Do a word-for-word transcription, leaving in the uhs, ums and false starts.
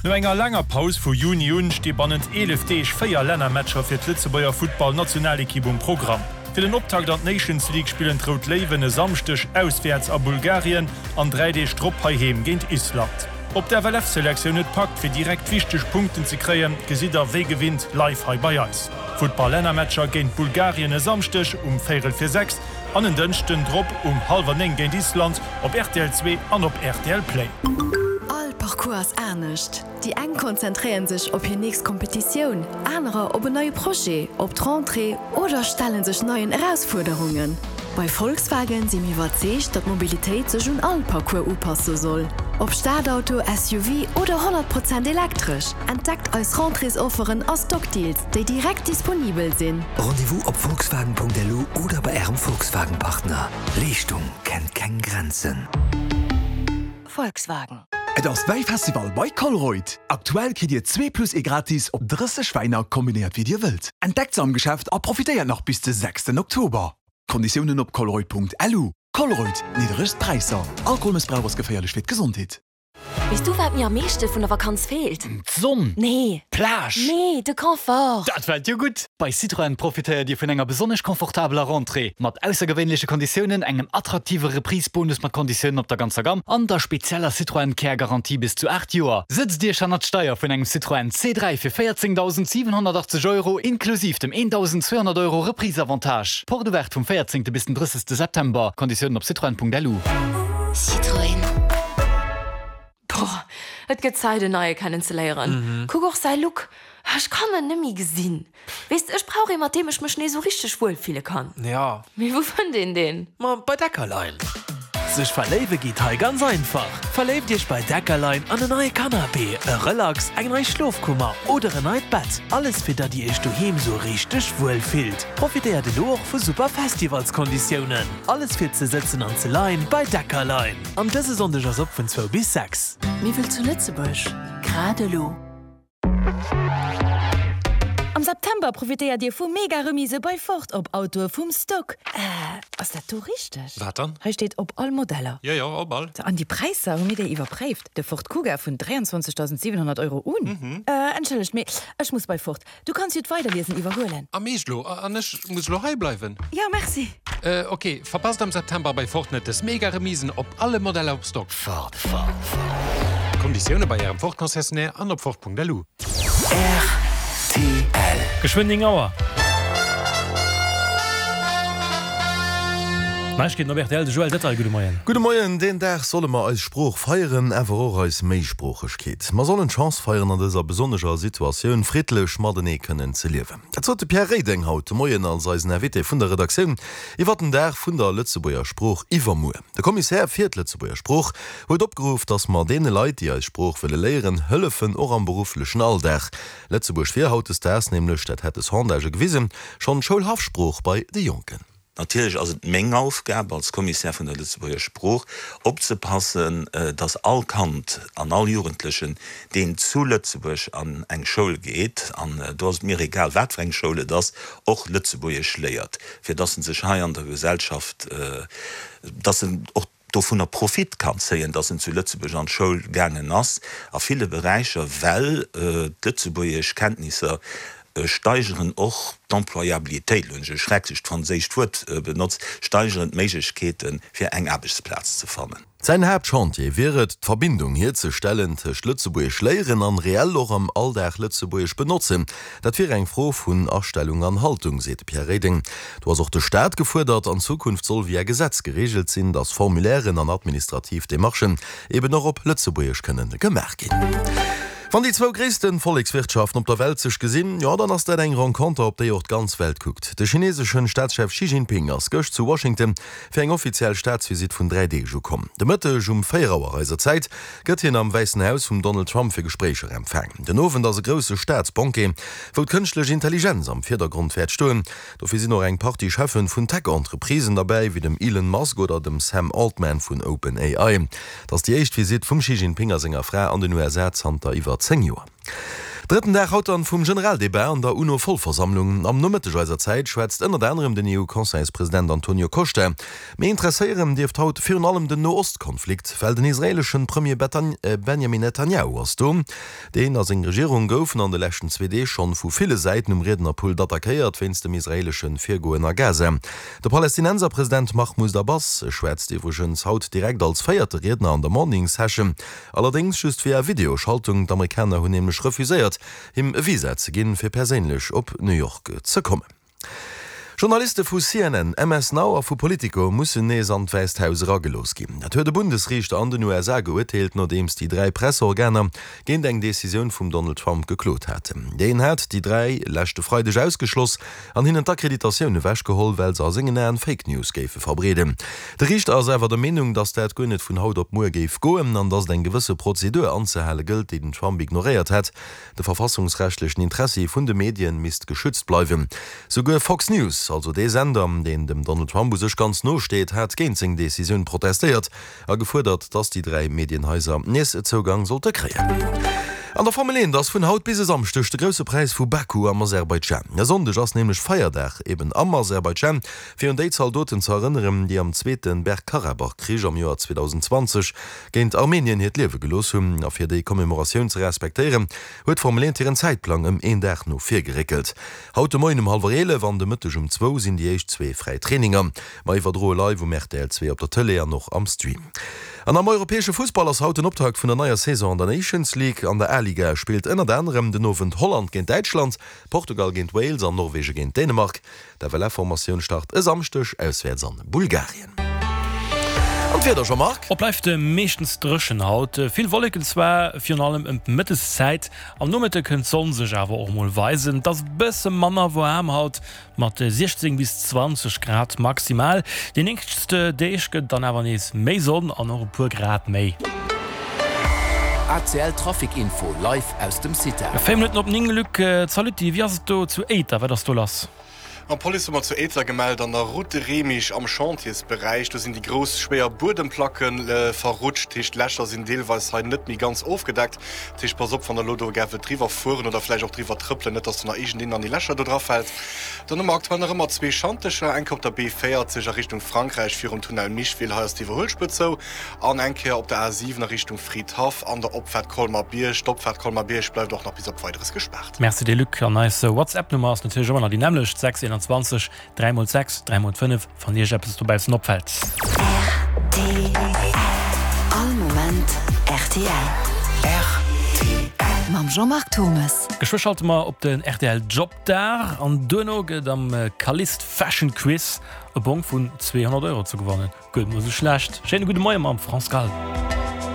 No enger laanger Paus vu Juni un sti bannent eelef Deeg véier Lännermatcher fir d'Lëtzebuerger Futtball-Nationalekipp um Programm. Fir den Optakt an d'Nations League spillen d'Rout Léiwen e Samschdeg auswäerts a Bulgarien an dräi Deeg drop heiheem géint Island. Ob d'FLF-Selektioun et packt, fir direkt wichteg Punkten ze kréien, gesitt der wéi gewinnt live hei bei eis. Futtball-Lännermatcher géint Bulgarien e Samschdeg um véierel vir sechs an en Dënschden drop um hallwer néng géint Island op rtl zwee an op rtl Play. All Parcours ass anescht. Déi eng konzentréieren sech op hir nächst Kompetitioun, anerer op en neie Projet, op d'Rentrée oder stelle sech neien Erausfuerderungen. Bei Volkswagen si mir iwwerzeegt, datt d'Mobilitéit sech un all Parcours upasse soll. Ob Stadauto, S U V oder honnert Prozent elektresch, entdeckt eis Rentréesofferen a Stockdeals, déi direkt disponibel sinn. Rendez-vous op volkswagen Punkt L U oder bei Ärem Volkswagen-Partner. Leeschtung kennt keng Grenzen. Volkswagen. Et ass Wäifestival bei Colruyt! Aktuell kritt Dir zwee plus ee gratis op drësseg Wäiner, kombinéiert wéi Dir wëllt. Entdeckt se am Geschäft a profitéiert nach bis de sechsten Oktober. Konditiounen op colruyt Punkt L U. Colruyt, nidderegst Präisser. Alkoholmëssbrauch ass geféierlech fir d'Gesondheet. Weess du, wat mir am meeschte vun der Vakanz feelt? D'Sonn. Nee. D'Plage. Nee, de Confort. Dat fält jo gutt! Bei Citroën profitéiert Dir vun enger besonnesch confortabeler Rentrée. Mat aussergewéinleche Konditiounen, engem attraktive Reprise-Bonus mat Konditiounen op der ganzer Gamm an der spezieller Citroën Care Garantie bis zu aacht Joer. Sëtzt Iech hannert d'Steier vun engem Citroën C dräi fir véierzéngdausendsiwenhonnertachtzeg Euro inklusiv dem eendausendzweehonnert Euro Reprise-Avantage. Porte ouverte vum véierzéngte bis den drëssegste September. Konditiounen op citroen Punkt L U. Citroën. Boah, et gëtt Zäit, en Neie kennenzeléieren. Mhm. Kuck och säi Look. Ech kann en net méi gesinn. Weess de, ech brauch ee, mat deem ech mech nees sou richteg wuelfille kann. Ja. Mee wou fënnt een deen? Ma bei Deckerlein. Sech verléiwe geet hei ganz einfach. Verléift Iech bei Deckerlein an en neie Canapé, e Relax, eng nei Schlofkummer oder en neit Bett. Alles fir datt Dir Iech doheem sou richteg wuel fillt. Profitéiert elo och vu super Festivalskonditiounen. Alles fir ze sëtzen an ze leien bei Deckerlein. An dëse Sonndeg ass op vun zwou bis sechs. Miwwel zu Lëtzebuerg? Grad elo. Am September profitéiert Dir vu Mega-Remise bei Ford op Autoe vum Stock. Äh, ass dat do richteg? Wat dann? Hei steet op all Modeller. Jo, jo, op all. An déi Präisser hu mir déi iwwerpréift. De Ford Kuga vun dräianzwanzegdausendsiwenhonnert Euro un. Mhm. Äh, entschëllegt, mee ech muss bei Ford. Du kanns jo d'Weiderliesen iwwerhuelen. Am Eescht lo? An ech muss lo hei bleiwen? Jo, merci. Äh, ok, verpasst am September bei Ford net des Mega-Remisen op alle Modeller op Stock. Ford, Ford, Ford. Konditioune bei Ärem Ford-Concessionnaire an op Ford Punkt L U. R T L. Geschwënn néng Auer. Neiegkeeten op R T L, de Joël Detail, gudde Moien. Gudde Moien, Deen Dag solle mer eis Sprooch feieren, awer och eis Méisproochegkeet. Mer sollen d'Chance feieren, an dëser besonnescher Situatioun friddlech matenee kënnen ze liewen. Dat sot de Pierre Reding haut de Moien als eisen Invité vun der Redaktioun iwwer den Dag vun der Lëtzebuerger Sprooch iwwermuer. De Kommissär fir d'Lëtzebuerger Sprooch huet opgeruff, datt mer deene Leit, déi eis Sprooch wëlle léieren, hëllefen, och am berufflechen Alldag. Lëtzebuergesch wier hautdesdaags nämlech, dat hätte Sondagë gewisen, schonn d'Schoulhaffsprooch bei de Jonken. Natierlech ass et meng Aufgab als Kommissär vun der Lëtzebuerger Sprooch opzepassen, datt all Kand an all Jugendlechen, deen zu Lëtzebuerg an eng Schoul geet, an do ass et mir egal wat fir eng Schoul et ass, och Lëtzebuergesch léiert, fir datt en sech hei an der Gesellschaft, datt en och dovunner Profit kann zéien, datt en zu Lëtzebuerg an d'Schoul gaangen ass, a ville Beräicher, well d'Lëtzebuergeschkenntnisser steigeren och d'Employabilitéit, elo hunn ech e schrecklecht franséischt Wuert benotzt, steigeren d'Méiglechkeete fir eng Aarbechtsplaz ze fannen. Säin Haaptchantier wier et, d'Verbindung hierzestellen tëscht Lëtzebuergesch léieren an reell och am Alldag Lëtzebuergesch benotzen. Dat wier eng Fro vun Astellung an Haltung, seet de Pierre Reding. Do ass och de Staat gefuerdert. An Zukunft soll via Gesetz gereegelt sinn, datt Formulairen an administrativ Demarchen eben och op Lëtzebuergesch kënnen gemaach ginn. Wann déi zwou gréisste Vollekswirtschaften op der Welt sech gesinn, jo dann ass dat eng Renconter, op déi och d'ganz Welt kuckt. De chineeseschen Staatschef Xi Jinping ass gëscht zu Washington fir eng offiziell Staatsvisitt vun dräi Deeg ukomm. De Mëtteg um véier Auer eiser Zäit gëtt hien am Wäissen Haus vum Donald Trump fir Gespréicher empfaangen. Den Owend ass e grousse Staatsbanquet, wou d'kënschtlech Intelligenz am Virdergrond wäert stoen. Dofir sinn och eng Partie Cheffen vun Tech-Entreprisen derbäi, wéi dem Elon Musk oder dem Sam Altman vun OpenAI. Dat ass déi éischt Visitt vum Xi Jinping a senger Fra an den U S A zanter iwwer zéng Joer. Drëtten Dag haut dann vum Generaldebat an der UNO-Vollversammlung. Am Nomëtteg eiser Zäit schwätzt ënnert anerem den EU-Conseilspresident Antonio Costa. Mee interesséieren dierft haut virun allem den No-Ost-Konflikt, well den israeeleschen Premier Benjamin Netanjahu ass do. Deen a seng Regierung goufen an de leschten zwee Deeg schonn vu ville Säiten um Riednerpult attackéiert wéinst dem israeeleschen Virgoen a Gaza. De Palästinenserpresident Mahmoud Abbas schwätzt iwwregens haut direkt als véierte Riedner an der Morning Session, allerdéngs just via Videoschaltung. D'Amerikaner hunn nämlech refuséiert, him e Visa ze ginn, fir perséinlech op New York ze kommen. Journaliste vu C N N, M S Now a vu Politico mussen nees an d'Wäisst Haus eragelooss ginn. Dat huet e Bundesriichter an den U S A geurteelt, nodeems déi dräi Presseorganer géint eng Decisioun vum Donald Trump geklot haten. Deen hat déi dräi leschte Freideg ausgeschloss an hinnen d'Akkreditatioun ewechgeholl, well se a sengen Aen Fake News géife verbreeden. De Riichter ass awer der Meenung, datt dat guer net vun haut op muer géif goen an datt et eng gewësse Prozedur anzehale gëllt, déi den Trump ignoréiert hätt. De verfassungsrechtlechen Interessi vun de Medien misst geschützt bleiwen. Souguer Fox News, also dee Sender, deen dem Donald Trump u sech ganz no steet, hat géint seng Decisioun protestéiert a gefuerdert, datt déi dräi Medienhaiser nees Zougang sollte kréien. An der Formel eent ass vun haut bis e Samschdeg de Grousse Präis vu Baku am Aserbaidschan. E Sonndeg ass nämlech Feierdag eben am Aserbaidschan, fir un déi Zaldoten ze erënneren, déi am zweete Bergkarabach-Krich am Joer zweedausenzwanzeg géint Armenien hiert Liewe gelooss hunn. A fir déi Commemoratioun ze respektéieren, huet d'Formel eent hiren Zäitplang ëm een Dag no vir geréckelt. Haut de Moien um hallwer eelef an de Mëtteg um zwou sinn déi éischt zwee fräi Traininger. Mer iwwerdroe live um R T L zwee op der Tëlee an och am Stream. An am europäesche Fussball ass haut den Optakt vun der neier Saison an der Nations League. An der A-Liga spillt ënnert anerem den Owend Holland géint Däitschland, Portugal géint Wales an Norwege géint Dänemark. D'F L F-Formatioun start e Samschdeg auswäerts an Bulgarien. An d'Wieder, Jean-Marc? Et bleift meeschtens dréchen haut. Vill Wolleken zwar, virun allem ëm d'Mëtteszäit. Am Nomëtte kënnt d'Sonn sech awer och mol weisen. Et ass e bësse manner waarm haut, mat siechzéng bis zwanzeg Grad maximal. Déi nächst Deeg gëtt et dann awer nees méi Sonn an och e puer Grad méi. A C L Trafic Info live aus dem CITA. Véier Minutten op néng, Luc, salut, wéi ass et do zu Éiter? Wat ass do lass? An d'Police hu mer zu Éiter gemellt, an der Route de Remich am Chantiersberäich, do sinn déi grouss schwéier Buedemplacke verrutscht. Dat heescht, d'Lächer sinn deelweis hei net méi ganz ofgedeckt. Dat heescht, pass op, wann der elo do gär wëllt driwwer fueren oder vläicht och driwwer trëppelen, net dass do nach iergendeen an déi Lächer do drafält. Dann hu mer aktuell nach ëmmer zwee Schantecher, eng Kéier op der B véierzeg a Richtung Frankräich virum Tunnel Micheville, hei ass d'Iwwerhuelspuer zou, an eng Kéier op der A siwen a Richtung Fridhaff an der Opfaart Colmar-Bierg. D'Opfaart Colmar-Bierg bleift och nach bis op Weideres gespaart. Merci dir, Luc. An eis WhatsApp-Nummer ass natierlech ëmmer nach déi nämmlecht, sechs einundzwanzeg dräi mol sechs dräi mol fënnef, wann Iech eppes dobaussen opfält. R T L. All Moment R T L. R T L. Mam Jean-Marc Thomes. Geschwë schalte mer op den R T L Jobdag an duerno gëtt am Calliste Fashion Quiz e Bong vun zweehonnert Euro ze gewannen. Guer net mol sou schlecht. Schéine gudde Moie mam France Gall.